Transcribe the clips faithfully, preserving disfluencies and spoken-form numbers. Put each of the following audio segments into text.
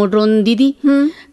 मोड्रोन दीदी,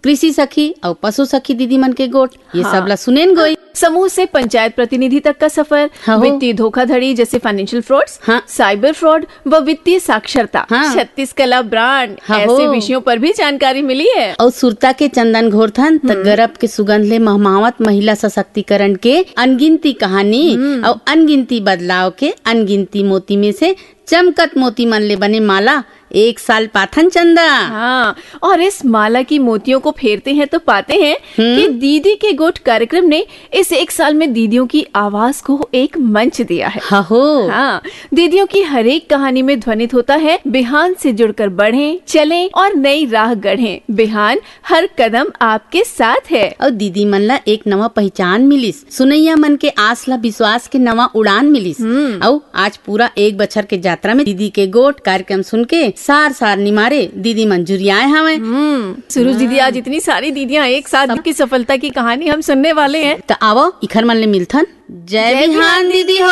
कृषि सखी अउ पशु सखी दीदी मन के गोठ, ये सब ला सुनेन गोई। समूह से पंचायत प्रतिनिधि तक का सफर, हाँ हो। वित्तीय धोखाधड़ी जैसे फाइनेंशियल फ्रॉड्स, हाँ। साइबर फ्रॉड व वित्तीय साक्षरता, हाँ। छत्तीस कला ब्रांड, हाँ ऐसे हो। विषयों पर भी जानकारी मिली है। अउ सुरता के चंदन घोरथन त हम्म। गरब के सुगंध ले महमावत महिला सशक्तिकरण के अनगिनती कहानी हम्म। अउ अनगिनती बदलाव के अनगिनती मोती में से चमकत मोती मन ले बने माला एक साल पाथन चंदा। हाँ, और इस माला की मोतियों को फेरते हैं तो पाते हैं हम्म। कि दीदी के गोठ कार्यक्रम ने इस एक साल में दीदियों की आवाज को एक मंच दिया है। हाँ हो। हाँ, दीदियों की हर एक कहानी में ध्वनित होता है, बिहान से जुड़कर बढ़ें, चलें और नई राह गढ़ें। बिहान हर कदम आपके साथ है। अउ दीदी मन ला एक नवा पहचान मिलिस, सुनैया मन के आस ला विश्वास के नवा उड़ान मिलिस। हम्म। अउ आज पूरा एक बछर के यात्रा में दीदी के गोठ कार्यक्रम सुन के सार सार निमारे दीदी मन जुरियाए हवंय। हम्म, सुरुज दीदी, आज इतनी सारी दीदियां एक साथ की सफलता की कहानी हम सुनने वाले हैं। त आवो इखर मन ले मिलथन। जय जय बिहान बिहान दीदी हो।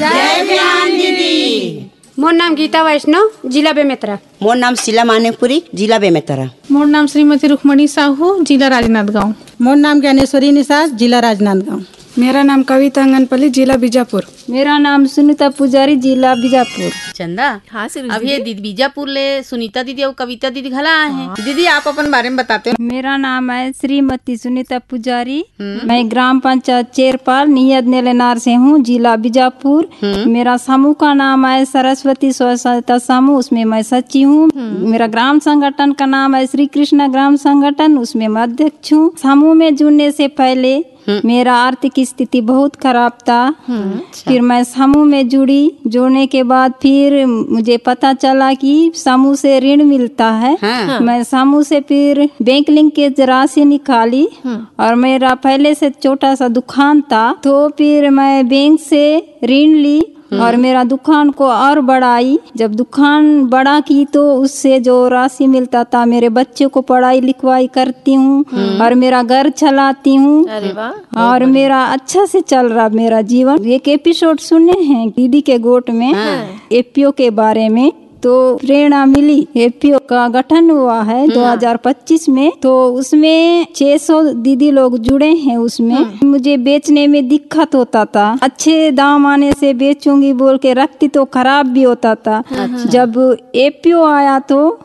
जय बिहान दीदी। मोर नाम गीता वैष्णव, जिला बेमेतरा। मोर नाम शीला मानिकपुरी, जिला बेमेतरा। मोर नाम श्रीमती रुक्मणी साहू, जिला राजनांदगांव। मोर नाम ज्ञानेश्वरी निषाद, जिला राजनांदगांव। मेरा नाम कविता अंगनपल्ली, जिला बीजापुर। मेरा नाम सुनीता पुजारी, जिला बीजापुर। चंदा, हाँ, सुरुज अब ये दीदी। दीदी बीजापुर ले सुनीता दीदी अउ कविता दीदी घला आए हैं। हाँ। दीदी, आप अपन बारे में बताते हो। मेरा नाम है श्रीमती सुनीता पुजारी। हम्म। मैं ग्राम पंचायत चेरपाल नियद नेलेनार से हूँ, जिला बीजापुर। हम्म। मेरा समूह का नाम है सरस्वती स्व सहायता समूह, उसमें मैं सचिव हूँ। हम्म। मेरा ग्राम संगठन का नाम है श्री कृष्णा ग्राम संगठन, उसमें मैं अध्यक्ष हूँ। समूह में जुड़ने से पहले हम्म। मेरा आर्थिक स्थिति बहुत खराब था। हम्म। अच्छा। फिर मैं समूह में जुड़ी। जुड़ने के बाद फिर मुझे पता चला कि समूह से ऋण मिलता है। हाँ। मैं समूह से फिर बैंक लिंकेज राशि निकाली हम्म। और मेरा पहले से छोटा सा दुकान था, तो फिर मैं बैंक से ऋण ली हम्म। और मेरा दुकान को और बढ़ाई। जब दुकान बड़ा की तो उससे जो राशि मिलता था, मेरे बच्चों को पढ़ाई लिखवाई करती हूँ हम्म। और मेरा घर चलाती हूँ। अरे वाह, और मेरा अच्छा से चल रहा मेरा जीवन। एक एपिसोड सुने हैं दीदी के गोठ में हाँ। एपीओ के बारे में, तो प्रेरणा मिली। एपीओ का गठन हुआ है हम्म। दो हज़ार पच्चीस में, तो उसमें छह सौ दीदी लोग जुड़े हैं। उसमें हम्म। मुझे बेचने में दिक्कत होता था, अच्छे दाम आने से बेचूंगी बोल के रखती तो खराब भी होता था। अच्छा। जब एपीओ आया तो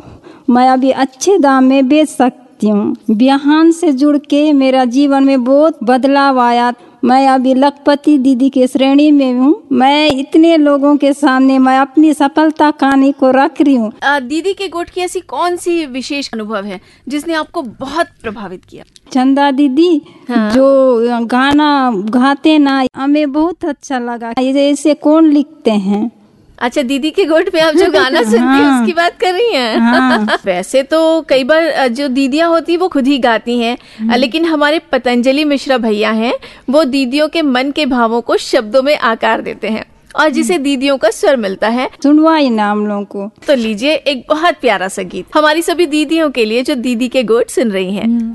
मैं अभी अच्छे दाम में बेच सकती हूँ। बिहान से जुड़ के मेरा जीवन में बहुत बदलाव आया। मैं अभी लखपति दीदी के श्रेणी में हूँ। मैं इतने लोगों के सामने मैं अपनी सफलता कहानी को रख रही हूँ। अ, दीदी के गोठ की ऐसी कौन सी विशेष अनुभव है जिसने आपको बहुत प्रभावित किया? चंदा दीदी, हाँ। जो गाना गाते ना, हमें बहुत अच्छा लगा। ये ऐसे कौन लिखते हैं? अच्छा, दीदी के गोठ में आप जो गाना सुनती हैं, हाँ। उसकी बात कर रही हैं। हाँ। वैसे तो कई बार, अ, जो दीदियां होती हैं, वो खुद ही गाती हैं, हम्म। अ, लेकिन हमारे पतंजलि मिश्रा भैया हैं, वो दीदियों के मन के भावों को शब्दों में आकार देते हैं और जिसे हम्म। दीदियों का स्वर मिलता है। सुनवाई ना हम लोगों को। तो लीजिए एक बहुत प्यारा सा गीत हमारी सभी दीदियों के लिए, जो दीदी के गोठ सुन रही हैं। हम्म।